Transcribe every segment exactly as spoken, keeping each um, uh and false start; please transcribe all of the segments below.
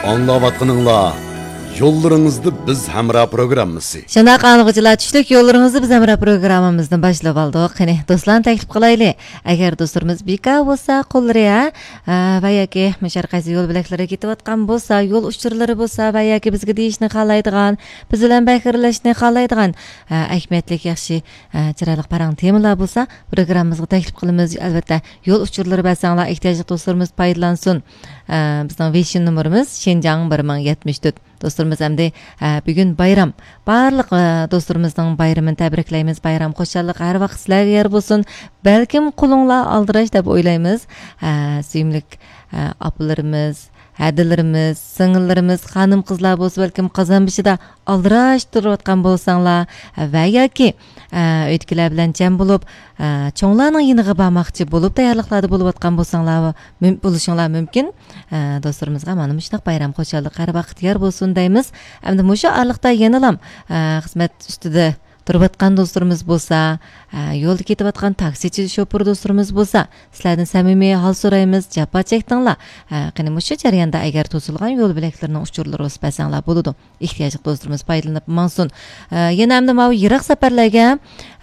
ئاڭلاۋاتقىنىڭلار يوللىرىڭىزدا بىز ھەمراھ پروگراممىسى. شۇنداق ئاڭلىغۇچىلار، چۈشلۈك يوللىرىڭىزدا بىز ھەمراھ پروگراممىمىزنى باشلىۋالدۇق. قېنى، دوستلارنى تەكلىپ قىلايلى. ئەگەر دوستلىرىمىز بىكار بولسا، قوللىرى، ھە، ھە، ۋە ياكى مۇشۇ ھەر قايسى يول بۆلەكلىرىگە كېتىۋاتقان بولسا، يول ئۇچۇرلىرى بولسا ۋە ياكى بىزگە دېيىشنى خالايدىغان، بىز بىلەن بەھرىلەشنى خالايدىغان، ھە، ئەھمىيەتلىك، ياخشى، ھە، چىرايلىق پاراڭ تېمىلار بولسا، پروگراممىمىزغا تەكلىپ قىلىمىز. ئەلۋەتتە، يول ئۇچۇرلىرى بەرسەڭلار، ئېھتىياجلىق دوستلىرىمىز پايدىلانسۇن. ھە، بىزنىڭ ۋېيشىن نومۇرىمىز شىنجاڭ بىر مىڭ يەتمىش تۆت. دوستلىرىمىز ئەمدى، ھە، بۈگۈن بايرام. بارلىق، ھە، دوستلىرىمىزنىڭ بايرىمىنى تەبرىكلەيمىز. بايرام خۇشاللىق ھەر ۋاقىت سىلەرگە يار بولسۇن. بەلكىم قولۇڭلار ئالدىراش دەپ ئويلايمىز. ھە، سۆيۈملۈك، ھە، ئاپىلىرىمىز، ھەدىلىرىمىز، سىڭىللىرىمىز، خانىم-قىزلار بولسا بەلكىم قازان بېشىدا ئالدىراش تۇرۇۋاتقان بولساڭلار، ھە، ۋە ياكى، ھە، ئۆيدىكىلەر بىلەن جەم بولۇپ، ھە، چوڭلارنىڭ يېنىغا بارماقچى بولۇپ تەييارلىقلاردا بولۇۋاتقان بولساڭلار، مۇم-، بولۇشۇڭلار مۇمكىن. ئە، دوستلىرىمىزغا مانا مۇشۇنداق بايرام خۇشاللىق ھەر ۋاقىت يار بولسۇن دەيمىز. ئەمدى مۇشۇ ئارىلىقتا يەنىلام، ئە، خىزمەت ئۈستىدە تۇرۇۋاتقان دوستلىرىمىز بولسا، ئە، يولدا كېتىۋاتقان تاكسىچى شوپۇر دوستلىرىمىز بولسا، سىلەردىن سەمىمىي ھال سورايمىز، جاپا چەكتىڭلار. ئە، قېنى مۇشۇ جەرياندا ئەگەر توسۇلغان يول بۆلەكلىرىنىڭ ئۇچۇرلىرى بولسا بەرسەڭلار بولىدۇ. ئېھتىياجلىق دوستلىرىمىز پايدىلىنىپ ماڭسۇن. ئە، يەنە ئەمدى ماۋۇ يىراق سەپەرلەرگە،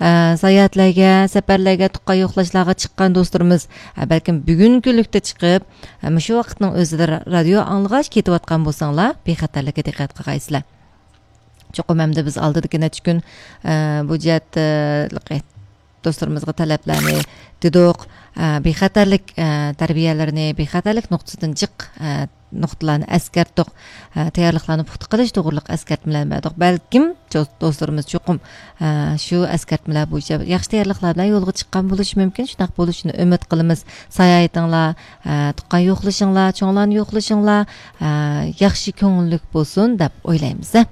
ئە، ساياھەتلەرگە، سەپەرلەرگە، تۇغقان يوقلاشلارغا چىققان دوستلىرىمىز، ئە، بەلكىم بۈگۈن كۈنلۈكتە چىقىپ، ئە، مۇشۇ ۋاقىتنىڭ ئۆزىدە را-، رادىيو ئاڭلىغاچ كېتىۋاتقان بولساڭلار، بىخەتەرلىككە دىققەت قىلغايسىلەر. چوقۇم ئەمدى بىز ئالدىدىكى نەچچە كۈن، ئە، بۇ جەھەتتە، ئە، دوستلىرىمىزغا تەلەپلەرنى دېدۇق. ئە، بىخەتەرلىك، ئە، تەربىيەلىرىنى، بىخەتەرلىك نۇقتىسىدىن جىق، ئە، نۇقتىلارنى ئەسكەرتتۇق. ئە، تەييارلىقلارنى پۇختا قىلىش توغرۇلۇق ئەسكەرتمىلەرنى بەردۇق. بەلكىم جو-، دوستلىرىمىز چوقۇم، ئە، شۇ ئەسكەرتمىلەر بويىچە ياخشى تەييارلىقلار بىلەن يولغا چىققان بولۇشى مۇمكىن. شۇنداق بولۇشىنى ئۈمىد قىلىمىز. ساياھىتىڭلار، ئە، تۇغقان يوقلىشىڭلار، چوڭلارنى يوقلىشىڭلار، ئە، ياخشى كۆڭۈللۈك بولسۇن دەپ ئويلايمىز.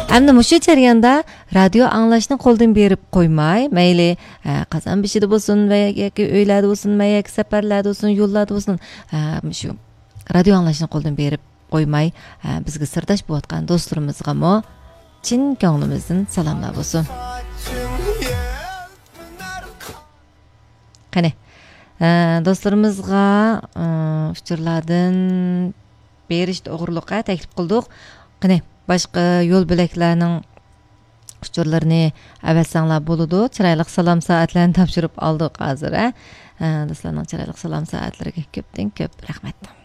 ئەمدى مۇشۇ جەرياندا رادىيو ئاڭلاشنى قولدىن بېرىپ قويماي، مەيلى، ئە، قازان بېشىدا بولسۇن ۋە ياكى ئۆيلەردە بولسۇن ۋە ياكى سەپەرلەردە بولسۇن، يوللاردا بولسۇن، ئە، مۇشۇ رادىيو ئاڭلاشنى قولدىن بېرىپ قويماي، ئە، بىزگە سىرداش بولۇۋاتقان دوستلىرىمىزغىمۇ چىن كۆڭلىمىزدىن سالاملار بولسۇن. قېنى، ئە، دوستلىرىمىزغا، ئە، ئۇچۇرلاردىن بېرىش توغرۇلۇق، ئە، تەكلىپ قىلدۇق. قېنى، باشقا يول بۆلەكلەرنىڭ ئۇچۇرلىرىنى ئەۋەتسەڭلار بولىدۇ. چىرايلىق سالام سائەتلەرنى تاپشۇرۇپ ئالدۇق ھازىر، ئە. ئە، دوستلارنىڭ چىرايلىق سالام سائەتلىرىگە كۆپتىن كۆپ رەھمەت.